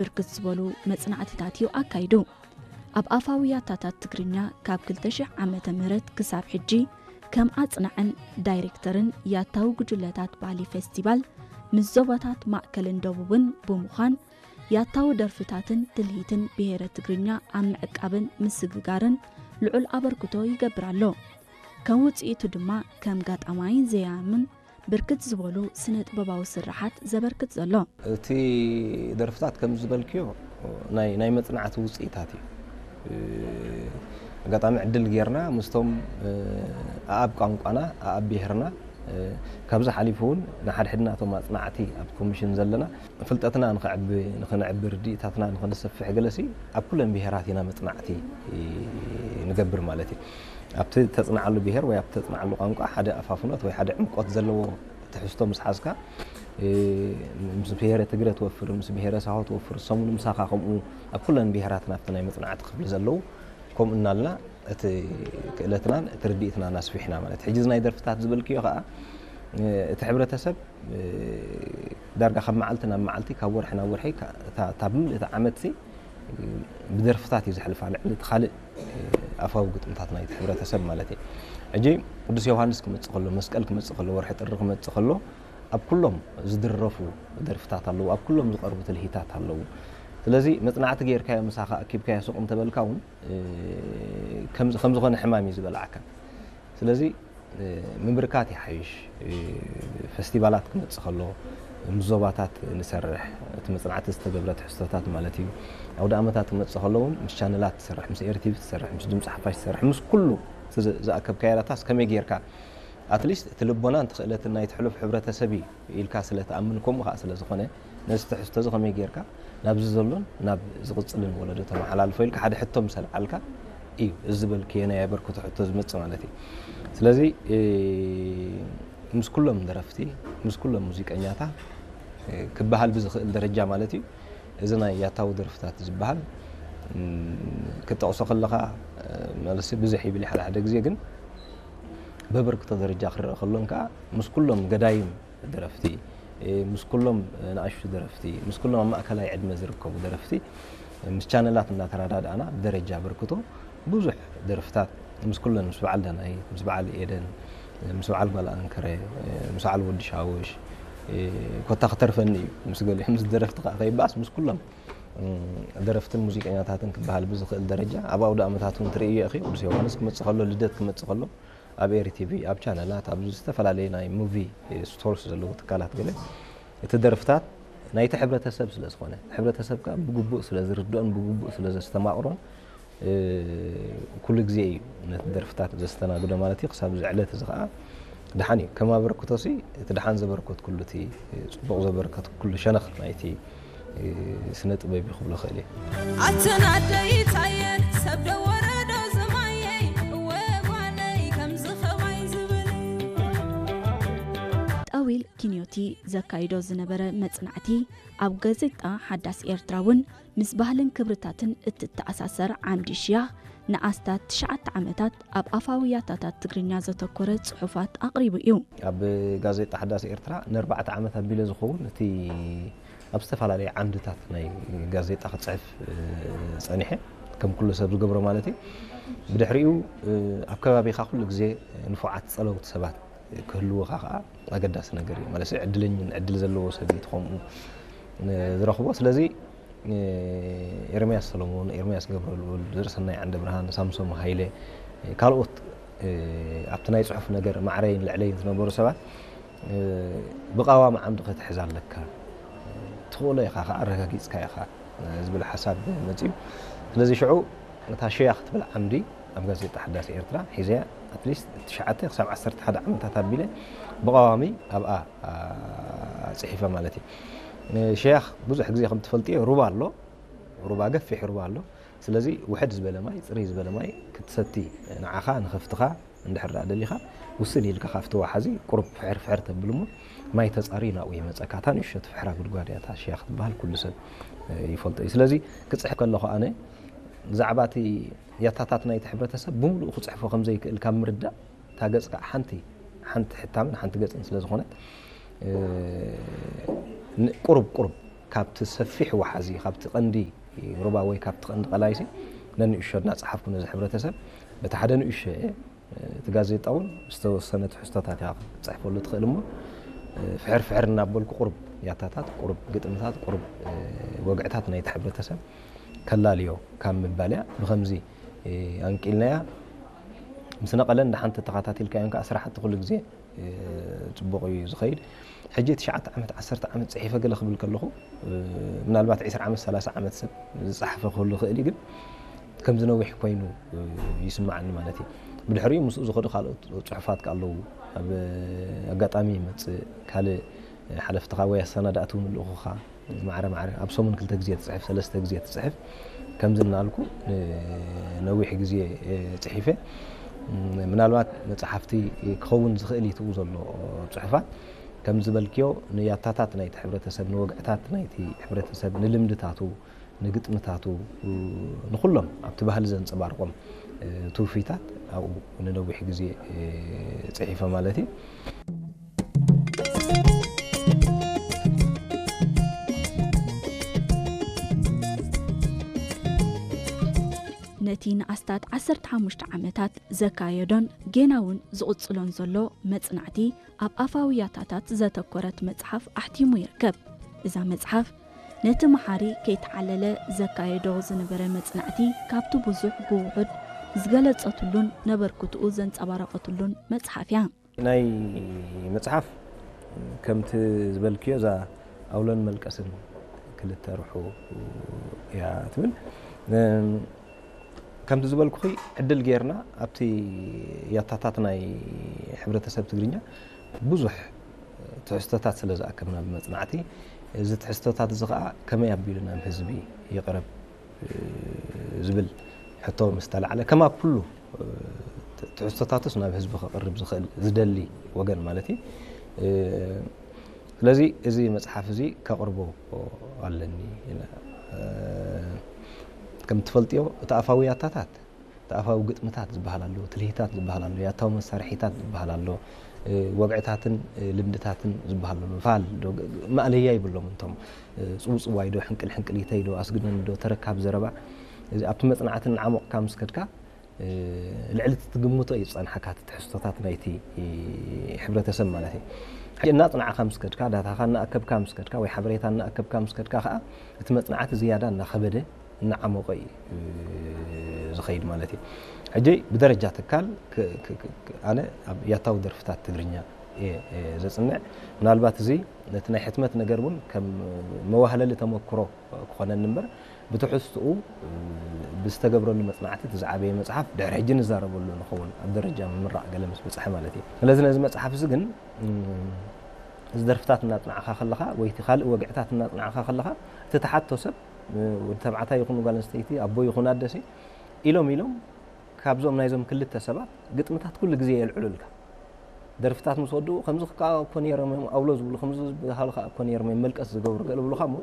ብርክት ዝበሉ መጽናዕትታት እዩ ኣካይዱ። ኣብ ኣፋዊ ያታታት ትግርኛ ካብ ክልተ ሽሕ ዓመተ ምህረት ክሳብ ሕጂ ከም ኣጽናዕን ዳይሬክተርን ያታዊ ጉጅለታት ባህሊ ፌስቲቫል ምስ ዞባታት ማእከልን ደቡብን ብምዃን ያታዊ ደርፍታትን ትልሂትን ብሄረ ትግርኛ ኣብ ምዕቃብን ምስግጋርን ልዑል ኣበርክቶ ይገብር ኣሎ። ከም ውጽኢቱ ድማ ከም ጋጣማይን ዘያምን ብርክት ዝበሉ ስነ ጥበባዊ ስርሓት ዘበርክት ዘሎ። እቲ ደርፍታት ከም ዝበልክዮ ናይ ናይ መጽናዕቲ ውጽኢታት እዩ። ኣጋጣሚ ዕድል ጌርና ምስቶም ኣኣብ ቋንቋና ኣኣብ ብሄርና ካብዚ ሓሊፉ እውን ንሓድሕድናቶም ኣጽናዕቲ ኣብ ኮሚሽን ዘለና ፍልጠትና ንኸዕቢ ንኽንዕቢ ርድኢታትና ንኽንሰፍሕ ገለሲ ኣብ ኩለን ብሄራት ኢና መጽናዕቲ ንገብር ማለት እዩ። ኣብቲ ተጽንዓሉ ብሄር ወይ ኣብቲ ተጽንዓሉ ቋንቋ ሓደ ኣፋፍኖት ወይ ሓደ ዕምቆት ዘለዎ ትሕዝቶ ምስ ሓዝካ ምስ ብሄረ ትግረ ትወፍር ምስ ብሄረ ሳሆ ትወፍር ሰሙን ምሳኻ ከምኡ ኣብ ኩለን ብሄራት ናብቲ ናይ መጽናዕቲ ክፍሊ ዘለዉ ከምኡ እናልና እቲ ክእለትናን እቲ ርድኢትናን ኣስፊሕና ማለት ሕጂ ናይ ደርፍታት ዝበልክዮ ከዓ እቲ ሕብረተሰብ ዳርጋ ካብ መዓልቲ ናብ መዓልቲ ካብ ወርሒ ናብ ወርሒ እታ ብምልእ እቲ ዓመት ብደርፍታት እዩ ዘሕልፋ ልዕሊ እቲ ካልእ ኣፋዊ ግጥምታት ናይቲ ሕብረተሰብ ማለት እዩ። ሕጂ ቅዱስ ዮሃንስ ክመፅእ ከሎ መስቀል ክመፅእ ከሎ ወርሒ ጥሪ ክመፅእ ከሎ ኣብ ኩሎም ዝድረፉ ደርፍታት ኣለዉ ኣብ ኩሎም ዝቐርቡ ትልሂታት ኣለዉ። ስለዚ መፅናዕቲ ጌርካዮ ምሳኻ ኣኪብካዮ ሱቕ እንተበልካ እውን ከም ዝኾነ ሕማም እዩ ዝበልዓካ። ስለዚ ምብርካት ይሓይሽ። ፈስቲቫላት ክመፅእ ከሎ ምስ ዞባታት ንሰርሕ እቲ መፅናዕቲ ዝተገብረ ትሕዝቶታት ማለት እዩ። ኣውደ ኣመታት ክመፅእ ከሎ እውን ምስ ቻነላት ትሰርሕ ምስ ኤርቲቪ ትሰርሕ ምስ ድምፂ ሓፋሽ ትሰርሕ ምስ ኩሉ ዝኣከብካዮ ዳታስ ከመይ ጌርካ ኣትሊስት እቲ ልቦናን እቲ ክእለትን ናይ ትሕሉፍ ሕብረተሰብ እዩ ኢልካ ስለ ትኣምን ከምኡ ከዓ ስለ ዝኾነ ነዚ ትሕዝቶ እዚ ከመይ ጌርካ ናብዚ ዘሎን ናብ ዝቕፅልን ወለዶ ተመሓላልፎ ኢልካ ሓደ ሕቶ ምስ ኣልዓልካ እዩ እዚ ዝበልክዮ ናይ ኣበርክቶ ሕቶ ዝመፅእ ማለት እዩ። ስለዚ ምስ ኩሎም ደረፍቲ ምስ ኩሎም ሙዚቀኛታ ክበሃል ብዝኽእል ደረጃ ማለት እዩ እዚ ናይ ያታዊ ደርፍታት ዝበሃል ክጠቕሶ ከለኻ ማለት ብዙሕ ይብል ሓደ ሓደ ግዜ ግን በበርክቶ ደረጃ ክረአ ከሎን ከዓ ምስ ኩሎም ገዳይም ደረፍቲ ምስ ኩሎም ንኣሽቱ ደረፍቲ ምስ ኩሎም ኣብ ማእከላይ ዕድመ ዝርከቡ ደረፍቲ ምስ ቻነላት እናተረዳድኣና ብደረጃ በርክቶ ብዙሕ ደርፍታት ምስ ኩለን ምስ በዓል ዳናይት ምስ በዓል ኤደን ምስ በዓል ጓል ኣንከረ ምስ በዓል ወዲ ሻውሽ ኮታ ክተርፈኒ እዩ ምስ ገሊኦም ምስ ደረፍቲ ከዓ ከይበኣስ ምስ ኩሎም ደረፍትን ሙዚቀኛታትን ክበሃል ብዝኽእል ደረጃ ኣብ ኣውደ ኣመታት እውን ትርእዮ ኢኺ ቅዱስ ዮሃንስ ክመፅእ ከሎ ልደት ክመፅእ ከሎ ኣብ ኤሪ ቲቪ ኣብ ቻነላት ኣብ ዝተፈላለዩ ናይ ሙቪ ስቶርስ ዘለዉ ትካላት ገለ እቲ ደርፍታት ናይቲ ሕብረተሰብ ስለ ዝኾነ ሕብረተሰብ ከዓ ብግቡእ ስለ ዝርድኦን ብግቡእ ስለ ዘስተማቕሮን ኩሉ ግዜ እዩ ነቲ ደርፍታት ዘስተናግዶ ማለት እዩ ክሳብ እዚ ዕለት እዚ ከዓ ደሓን እዩ ከም ኣበርክቶሲ እቲ ደሓን ዘበርከት ኩሉ እቲ ፅቡቕ ዘበርከት ኩሉ ሸነኽ ናይቲ ስነ ጥበብ እዩ ክብሎ ክእል እየ ኣተናደይታየ ሰብ ደወረዶ ዝማየይ እወ ጓለይ ከምዚ ኸማይ ዝብል ጣዊል ኪንዮቲ ዘካይዶ ዝነበረ መጽናዕቲ ኣብ ጋዜጣ ሓዳስ ኤርትራ እውን ምስ ባህልን ክብርታትን እትተኣሳሰር ዓምዲ ሽያኽ ንኣስታት ትሽዓተ ዓመታት ኣብ ኣፋዊ ያታታት ትግርኛ ዘተኮረ ጽሑፋት ኣቕሪቡ እዩ። ኣብ ጋዜጣ ሓዳስ ኤርትራ ንኣርባዕተ ዓመት ኣቢለ ዝኸውን እቲ ኣብ ዝተፈላለየ ዓምድታት ናይ ጋዜጣ ክጽሕፍ ጸኒሐ ከም ኩሉ ሰብ ዝገብሮ ማለት እዩ። ብድሕሪኡ ኣብ ከባቢኻ ኩሉ ግዜ ንፉዓት ጸለውቲ ሰባት ክህልውኻ ከዓ ኣገዳሲ ነገር እዩ ማለት ዕድለኝ ዕድል ዘለዎ ሰብ እዩ ትኸምኡ ዝረኽቦ ስለዚ ኤርምያስ ሰሎሞን ኤርምያስ ገብረልኡል ዘርእሰናይ ዓንደ ብርሃን ሳምሶም ሃይለ ካልኦት ኣብቲ ናይ ፅሑፍ ነገር ማዕረይን ልዕለይን ዝነበሩ ሰባት ብቃዋሚ ዓምዲ ክትሕዝ ኣለካ ትኽእሎ ኢኻ ከዓ ኣረጋጊፅካ ኢኻ ዝብል ሓሳብ መፅዩ ስለዚ ሽዑ እታ ሸያ ክትብል ዓምዲ ኣብ ጋዜጣ ሓዳስ ኤርትራ ሒዘያ ኣትሊስት ትሽዓተ ክሳብ ዓሰርተ ሓደ ዓመታት ኣቢለ ብቐዋሚ ኣብኣ ፅሒፈ ማለት እዩ። ሸያኽ ብዙሕ ግዜ ከም ትፈልጥዮ ሩባ ኣሎ፣ ሩባ ገፊሕ ሩባ ኣሎ። ስለዚ ውሕድ ዝበለ ማይ፣ ፅርይ ዝበለ ማይ ክትሰቲ ንዓኻ ንኸፍትኻ እንድሕር ደኣ ደሊኻ ውስን ኢልካ ካብቲ ወሓዚ ቁሩብ ፍሕር ፍሕር ተብልሞ ማይ ተፃርዩ ናብኡ ይመፀካ። እታ ንእሽቶ ትፍሕራ ጉድጓድ እያ እታ ሸያኽ ትበሃል ኩሉ ሰብ ይፈልጦ እዩ። ስለዚ ክፅሕፍ ከለኹ ኣነ ብዛዕባ እቲ ያታታት ናይቲ ሕብረተሰብ ብምሉኡ ክፅሕፎ ከም ዘይክእል ካብ ምርዳእ እታ ገፅ ከዓ ሓንቲ ሓንቲ ሕታምን ሓንቲ ገፅን ስለ ዝኾነት ቁሩብ ቁሩብ ካብቲ ሰፊሕ ወሓዚ፣ ካብቲ ቀንዲ ሩባ ወይ ካብቲ ቀንዲ ቀላይሲ ነንእሾ እናጸሓፍኩ ነዚ ሕብረተሰብ፣ በቲ ሓደ ንእሾ እየ፣ እቲ ጋዜጣ እውን ዝተወሰነ ትሕዝቶታት እያ ክትጽሕፈሉ ትኽእል እሞ፣ ፍሕር ፍሕር እናበልኩ ቁሩብ ያታታት፣ ቁሩብ ግጥምታት፣ ቁሩብ ወግዕታት ናይቲ ሕብረተሰብ ከላልዮ ካብ ምባል እያ። ብኸምዚ ኣንቂልናያ ምስ ነቐለን ደሓን ተተኻታቲልካዮን ከዓ ስራሕቲ ኩሉ ግዜ ጽቡቕ እዩ ዝኸይድ። ሕጂ ትሽዓተ ዓመት፣ ዓሰርተ ዓመት ጽሒፈ ገለ ክብል ከለኹ፣ ምናልባት ዕስራ ዓመት፣ ሰላሳ ዓመት ሰብ ዝጸሓፈ ክህሉ ይኽእል እዩ፣ ግን ከምዚ ነዊሕ ኮይኑ ይስምዓኒ ማለት እዩ። ብድሕሪኡ ምስኡ ዝኸዱ ካልኦት ጽሑፋት ከ ኣለዉ። ኣብ ኣጋጣሚ ይመጽእ፣ ካልእ ሓለፍትኻ ወይ ኣሰናዳእቲ እውን ልእኹኻ ማዕረ ማዕረ ኣብ ሰሙን ክልተ ግዜ ትጽሕፍ፣ ሰለስተ ግዜ ትጽሕፍ። ከምዚ እናልኩ ነዊሕ ግዜ ጽሒፈ። ምናልባት መጽሓፍቲ ክኸውን ዝኽእል እዩ ትኡ ዘሎ ጽሑፋት። ከም ዝበልክዮ ንያታታት ናይቲ ሕብረተሰብ፣ ንወግዕታት ናይቲ ሕብረተሰብ፣ ንልምድታቱ፣ ንግጥምታቱ፣ ንኹሎም ኣብቲ ባህሊ ዘንጸባርቆም ትውፊታት ኣብኡ ንነዊሕ ግዜ ጽሒፈ ማለት እዩ። ነቲ ንኣስታት ዓሰርተ ሓሙሽተ ዓመታት ዘካየዶን ጌና እውን ዝቕጽሎን ዘሎ መጽናዕቲ ኣብ ኣፋዊ ያታታት ዘተኮረት መጽሓፍ ኣሕቲሙ ይርከብ። እዛ መጽሓፍ ነቲ መሓሪ ከይተዓለለ ዘካየዶ ዝነበረ መጽናዕቲ ካብቲ ብዙሕ ብውሑድ ዝገለጸትሉን ነበርክትኡ ዘንጸባረቐትሉን መጽሓፍ እያ። ናይ መጽሓፍ ከምቲ ዝበልክዮ እዛ ኣውሎን መልቀስን ክልተ ርሑ እያ ትብል። ከምቲ ዝበልኩኺ ዕድል ጌርና ኣብቲ ያታታት ናይ ሕብረተሰብ ትግርኛ ብዙሕ ትሕዝቶታት ስለ ዝኣከብና ብመጽናዕቲ፣ እዚ ትሕዝቶታት እዚ ኸኣ ከመይ ኣቢሉ ናብ ህዝቢ ይቕረብ ዝብል ሕቶ ምስ ተላዕለ፣ ከም ኣብ ኩሉ ትሕዝቶታቱስ ናብ ህዝቢ ከቕርብ ዝኽእል ዝደሊ ወገን ማለት እዩ። ስለዚ እዚ መጽሓፍ እዚ ከቕርቦ ኣለኒ። ከም ትፈልጥዮ እቲ ኣፋዊ ያታታት፣ እቲ ኣፋዊ ግጥምታት ዝበሃል ኣሎ፣ ትልሂታት ዝበሃል ኣሎ፣ ያታዊ መሳርሒታት ዝበሃል ኣሎ፣ ወግዕታትን ልምድታትን ዝበሃል ኣሎ። ፋል ዶ ማእለያ ይብሎም እንቶም ጽውጽዋይ ዶ ሕንቅል ሕንቅሊተይ ዶ ኣስግደኒ ዶ ተረካብ ዘረባ። እዚ ኣብቲ መጽናዕቲ እናዓሞቕካ ምስ ከድካ ልዕሊ እቲ ትግምቶ እዩ ዝጸንሓካ እቲ ትሕዝቶታት ናይቲ ሕብረተሰብ ማለት እዩ። ሕጂ እናጽናዕካ ምስ ከድካ፣ ዳታኻ እናኣከብካ ምስ ከድካ ወይ ሓበሬታ እናኣከብካ ምስ ከድካ ከኣ እቲ መጽናዕቲ ዝያዳ እናኸበደ እናዓሞቐ እዩ ዝኸይድ ማለት እዩ። ሕጂ ብደረጃ ትካል ኣነ ኣብ ያታዊ ደርፍታት ትግርኛ እየ ዘጽንዕ። ምናልባት እዚ ነቲ ናይ ሕትመት ነገር እውን ከም መዋህለሊ ተመክሮ ክኾነኒ እምበር ብትሕዝትኡ ብዝተገብረሉ መጽናዕቲ እቲ ዝዓበየ መጽሓፍ ድሕሪ ሕጂ ንዛረበሉ ንኸውን ኣብ ደረጃ ምምራቕ ገለ ምስ በጽሐ ማለት እዩ። ስለዚ ነዚ መጽሓፍ እዚ ግን እዚ ደርፍታት እናጽናዕኻ ከለኻ ወይ እቲ ካልእ ወግዕታት እናጽናዕኻ ከለኻ እቲ ተሓቶ ሰብ ወዲ ተባዕታይ ይኹን ጓል ኣንስተይቲ ኣቦ ይኹን ኣደሲ ኢሎም ኢሎም ካብዞም ናይዞም ክልተ ሰባት ግጥምታት ኩሉ ግዜ የልዕሉልካ። ደርፍታት ምስ ወድኡ ከምዚ ከዓ እኮ ነይሮም እዮም ኣውሎ ዝብሉ ከምዚ ዝበሃሉ ከዓ እኮ ነይሮም እዮም መልቀስ ዝገብሩ ገለ ብሉካ እሞ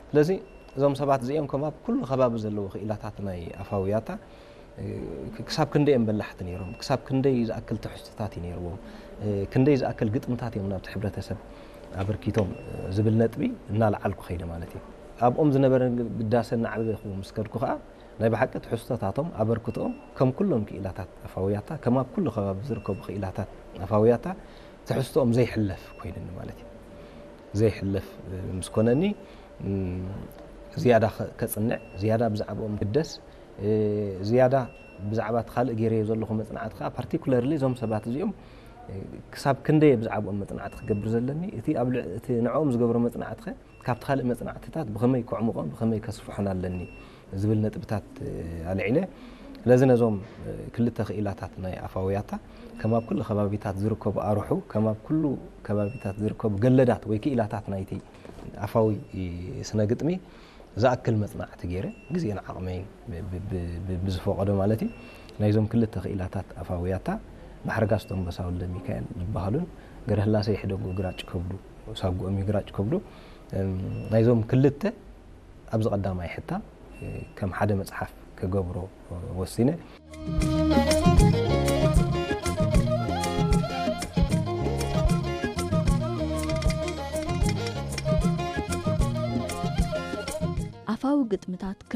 ስለዚ እዞም ሰባት እዚኦም ከም ኣብ ኩሉ ከባቢ ዘለዉ ክኢላታት ናይ ኣፋውያታ ክሳብ ክንደይ እዮም በላሕቲ ነይሮም፣ ክሳብ ክንደይ ዝኣክል ትሕዝቶታት እዩ ነይርዎም፣ ክንደይ ዝኣክል ግጥምታት እዮም ናብቲ ሕብረተሰብ ኣበርኪቶም ዝብል ነጥቢ እናለዓልኩ ከይደ ማለት እዩ። ኣብኦም ዝነበረ ግዳሰ እናዓበኹ ምስ ከድኩ ከዓ ናይ ብሓቂ ትሕዝቶታቶም ኣበርክቶኦም ከም ኩሎም ክኢላታት ኣፋውያታ ከም ኣብ ኩሉ ከባቢ ዝርከቡ ክኢላታት ኣፋውያታ ትሕዝቶኦም ዘይሕለፍ ኮይንኒ ማለት እዩ። ዘይሕለፍ ምስ ኮነኒ ዝያዳ ከጽንዕ ዝያዳ ብዛዕባኦም ግደስ ዝያዳ ብዛዕባ እቲ ካልእ ገይረዮ ዘለኹ መጽናዕቲ ከዓ ፓርቲኩለርሊ እዞም ሰባት እዚኦም ክሳብ ክንደየ ብዛዕባኦም መጽናዕቲ ክገብር ዘለኒ እቲ ንዕኦም ዝገብሮ መጽናዕቲ ከ ካብቲ ካልእ መጽናዕትታት ብኸመይ ከዕምቖን ብኸመይ ከስፍሖን ኣለኒ ዝብል ነጥብታት ኣልዒለ። ስለዚ ነዞም ክልተ ክኢላታት ናይ ኣፋውያታ ከም ኣብ ኩሉ ከባቢታት ዝርከቡ ኣርሑ ከም ኣብ ኩሉ ከባቢታት ዝርከቡ ገለዳት ወይ ክኢላታት ናይቲ ኣፋዊ ስነ ግጥሚ ዝኣክል መጽናዕቲ ገይረ ግዜን ዓቕመይን ብዝፈቐዶ ማለት እዩ ናይዞም ክልተ ክኢላታት ኣፋውያታ ማሕረጋስቶም በሳውል ደሚካኤል ዝበሃሉን ገረህላሰ ይሕደጉ ግራጭ ከብዱ ሳጉኦም ይግራጭ ከብዱ ናይዞም ክልተ ኣብዚ ቀዳማይ ሕታም ከም ሓደ መጽሓፍ ክገብሮ ወሲነ። ግጥምታት